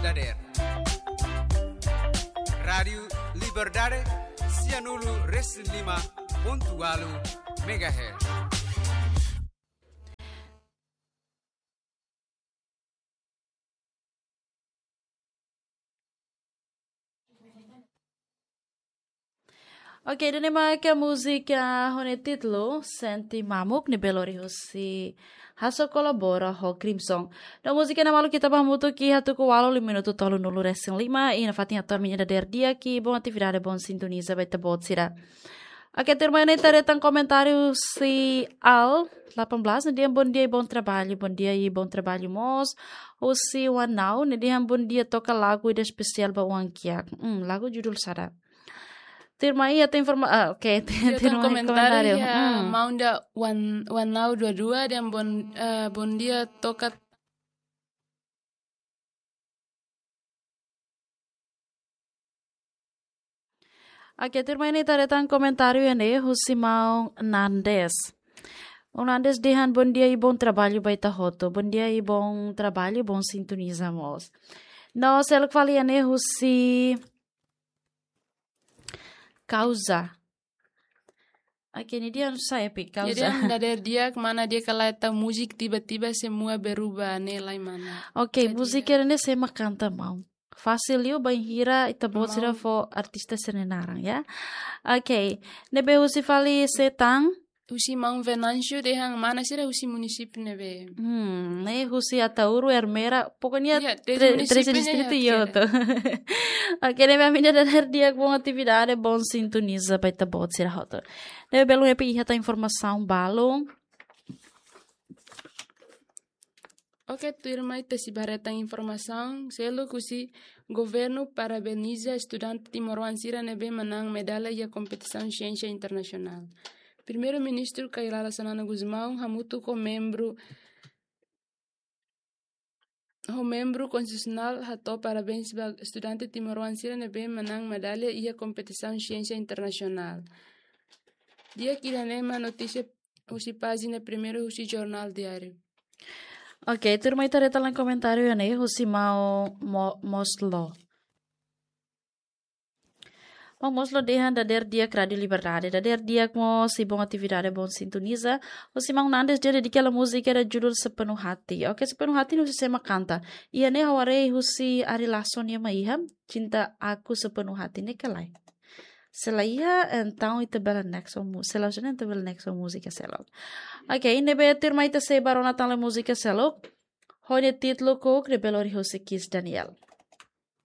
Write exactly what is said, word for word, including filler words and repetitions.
dadeer. Rádiu Liberdade, sianulu resin lima pontu walu megahertz. Oke, ida-ne'e mak múzika ho nia títulu Sente Mamuk, ne'ebé lori husi Hasso Kolabora ho Crimson. No múzika ne'e maluk ita bá hamutuk iha tuku ualu liu minutu tolunulu resin lima, i nafatin hato'o ami-nia dadeer di'ak i bom atividade, bom sintoniza ba ita-boot sira. Oke, tuirmai ne'e ita haree tan komentáriu husi Al delapan belas, nia dehan bom dia i bom trabalho, bom dia i bom trabalho mós. Husi Wanau, nia dehan bom dia, toka lagu ida espesiál ba oan kiak. Hmm, lagu judul saida? Tuirmai iha tan informa, ah, oke, Iha tan tuirmai komentáriu, komentáriu. Ya, hmm. Maun da Wan, Wanau dua dua, dehan bom, eh, bom dia, toka Oke, tuirmai ne'e ita haree tan komentáriu iha ne'e husi maun Nandes. Maun Nandes dehan bom dia i bom trabalho ba ita hotu. Bom dia i bom trabalho, bom sintoniza mós. No seluk fali iha ne'e husi Kauza. Oke, nia dehan saida, Epi, Kauza? Nia dehan dadeer di'ak, mana di'ak ka lae, ita múzika tiba-tiba semua berubah, ne'e lae mana. Oke, jadi múzika ne'e sé mak kanta, maun? Fasil liu bainhira ita-boot sira fó artista sira-nia naran, ya. Oke, ne'ebé husi fali Setang? Husi maun Venâncio, dehan mana sira, husi munisípiu ne'ebé? Hmm, ne'e husi Ataúro, Ermera, pokoknya ya, treze, treze munisípiu ne'e distritu ya, hotu. Oke, ne'ebé ami-nia dadeer di'ak, bom atividade, bom sintoniza ba ita-boot sira hotu. Ne'ebé belun, Epi, iha tan informasaun balun? Oke, tuirmai ita sei bá haree tan informasaun seluk husi: Governu parabeniza estudante timoroan sira ne'ebé manán medalla iha kompetisaun siénsia internasionál. Primeiru-Ministru Kay Rala Xanana Gusmão hamutuk ho membru, ho membru konstitusionál hato'o parabéns ba estudante timoroan sira ne'ebé manán medalla iha kompetisaun siénsia internasionál. Di'ak, ida-ne'e mak notísia husi pájina primeiru husi Jornál Diáriu. Oke, tuirmai ita haree tan komentáriu iha ne'e husi maun Mo-, Moslo. Maun Moslo dehan dadeer di'ak Rádiu Liberdade. Dadeer di'ak mós i bom atividade, bom sintoniza. Husi maun Nandes, dehan dedika hela múzika ida judul Sepenuh Hati. Oke, Sepenuh Hati ne'e husi sé mak kanta? Iha ne'e ha'u haree husi Ari Lasso nian mak iha, Cinta Aku Sepenuh Hati, ne'e ka lae? Se la iha, entaun ita bele next ho mu-, se la iha, entaun bele next ho múzika seluk. Oke, ne'ebé tuirmai ita sei bá rona tan múzika seluk. Ho nia títulu Kuk, ne'ebé lori husi Kizz Daniel.